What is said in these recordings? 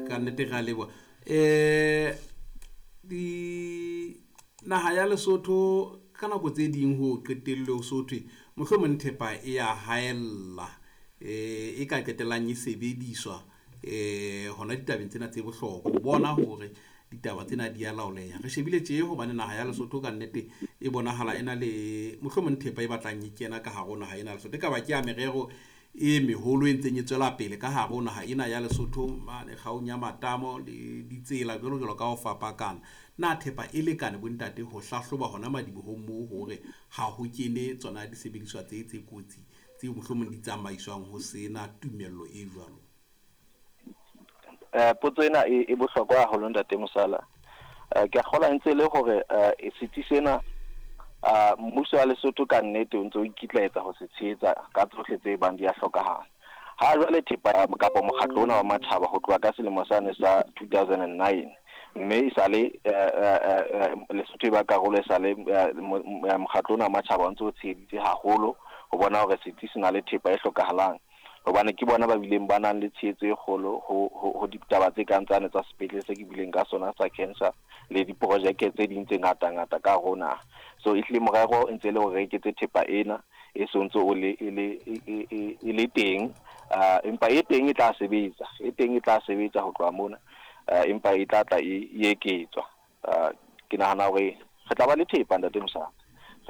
Ka nnete re a leboha. Di naha ya Lesotho ka nako tse ding ho qetelle ho so thwe mohlomong thepa e ya haella, e ka qetellang e sebediswa hona ditabeng tsena tse bohlokwa ho bona hore ditaba tsena di a laoleha. Re shebile tje hobane naha ya Lesotho ka nnete e bonahala e na le mohlomong thepa e batlang e kena ka hare ho naha ena ya Lesotho. E ka ba ke ya merero e meholo e ntseng e tswela pele ka hare ho naha ena ya Lesotho mane kgaong ya matamo le ditsela jwalo jwalo ka ho fapakana. Na thepa e lekane bontate ho hlahloba hona madibohong moo hore ha ho kene tsona disebediswa tse tse kotsi tseo mohlomong di tsamaiswang ho sena tumello e jwalo? Potso ena e bohlokwa haholo, ntate Mosala. Ke a kgolwa ntse e le hore setsi sena, mmuso wa Lesotho ka nnete o ntse o ikitlaetsa ho se tshehetsa ka tsohle tse bang di a hlokahala. Ha jwale thepa kapa mokgatlo ona wa matjhaba ho tloha ka selemo sane sa 2009, mme e sale Lesotho e ba karolo, e sale mokgatlo ona wa matjhaba o ntse o tsheheditse haholo ho bona hore setsi se na le thepa e hlokahalang, hobane ke bona ba bileng ba nang le tshehetso e kgolo ho ditaba tse kang tsane tsa sepetlele se ke bileng ka sona sa cancer le diprojeke tse ding tse ngata-ngata ka hare ho naha. So ehlile morero e ntse e le hore re eketse thepa ena e sontso o le e le e le teng, empa e teng e tla sebetsa, e teng e tla sebetsa ho tloha mona, empa e tla tla e eketswa. Ke nahana hore re tla ba le thepa, ntate Mosala,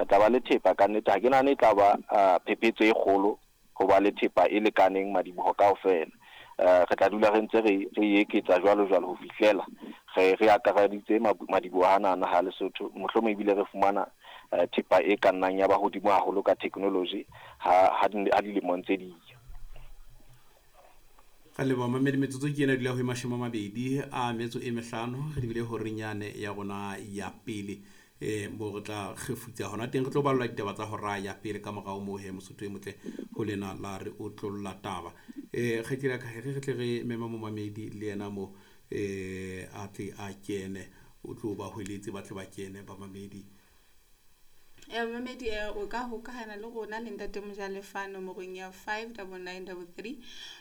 re tla ba le thepa ka nnete. Ha ke nahane e tla ba phephetso e kgolo ho ba le thepa e lekaneng madiboho kaofela. Re tla dula re ntse re e eketsa jwalo jwalo ho fihlela re akareditse madiboho ana naha ya Lesotho, mohlomong ebile re fumana thepa e ka nnang ya ba hodimo haholo ka technology ha dilemo ntse di ya. Re leboha mamedi. Metsotso ke ena dula ho 25, re lebile horeng yane ya rona ya pele, mo re tla kgefutsa hona teng, re tlo ballwa ditaba tsa hora ya pele. Ka morao moo he, Mosotho e motle ho lena la re otlolla taba. Kgaitsedi ya ka, re tle re mema momamedi le yena mo, a tle a kene, o tlo ba hweletse ba tle ba kene bamamedi. Mamedi, o ka hokahana le rona le ntate Mojalefa nomorong ya 59933,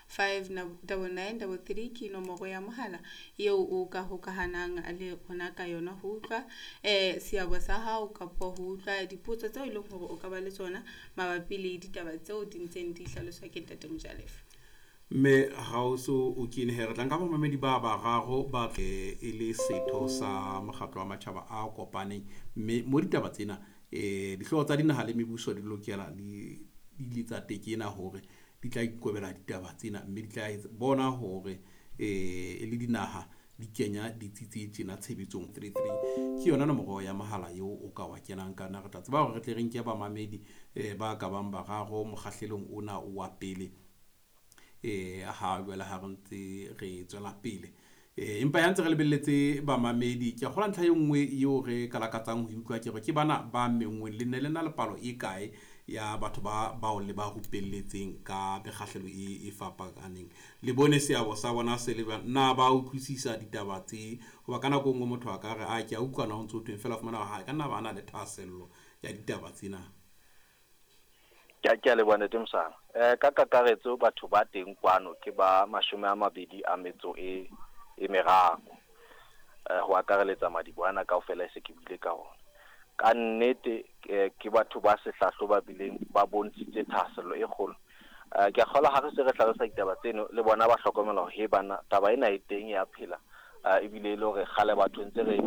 59933 ke nomoro ya mohala eo o ka hokahanang le rona ka yona ho utlwa seabo sa hao kapa ho utlwa dipotso tseo e leng hore o ka ba le tsona mabapi le ditaba tseo di ntseng di hlaloswa ke ntate Mojalefa. Mme ha o so o kene he, re tla nka bamamedi ba bararo ba tle e le setho sa mokgatlo wa matjhaba a kopaneng, mme mo ditaba tsena dihlooho tsa dinaha le mebuso di lokela di ile tsa tekena hore di tla ikobela ditaba tsena, mme di tla bona hore e le dinaha di kenya ditsi tse tjena tshebetsong. 33 ke yona nomoro ya mohala eo o ka wa kenang ka yona. Re tla tseba hore re tle re nke bamamedi ba ka bang bararo mokgahlelong ona wa pele, ha jwale ha re ntse re tswela pele, empa ya ntse re lebelletse bamamedi. Ke a kgolwa ntlha e nngwe eo re ka lakatsang ho utlwa ke hore ke bana ba menngweng le nne le na le palo e kae ya batho ba bao le ba rupelletseng ka mekgahlelo e fapakaneng, le bone seabo sa bona se le jwang, na ba utlwisisa ditaba tse? Hoba ka nako e nngwe motho a ka re a ke a utlwa na ho ntso thweng, feela fumana hore ha ka nna ba na le thahasello ya ditaba tsena. Ke a leboha, ntate Mosala. Ka kakaretso batho ba teng kwano ke ba 23, ho akareletsa madiboho ana kaofela e se ke buile ka ona. Ka nnete ke batho ba sehlahlo ba bileng ba bontshitse thahasello e kgolo. Ke a kgolwa ha re se re hlalosa ditaba tseno le bona ba hlokomela hore he bana, taba ena e teng ya phela, ebile e le hore kgale batho ntse re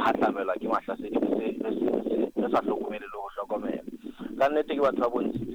hahlamelwa ke mahlasedi, re sa hlokomele le ho hlokomela. Ka nnete ke batho ba bontshitse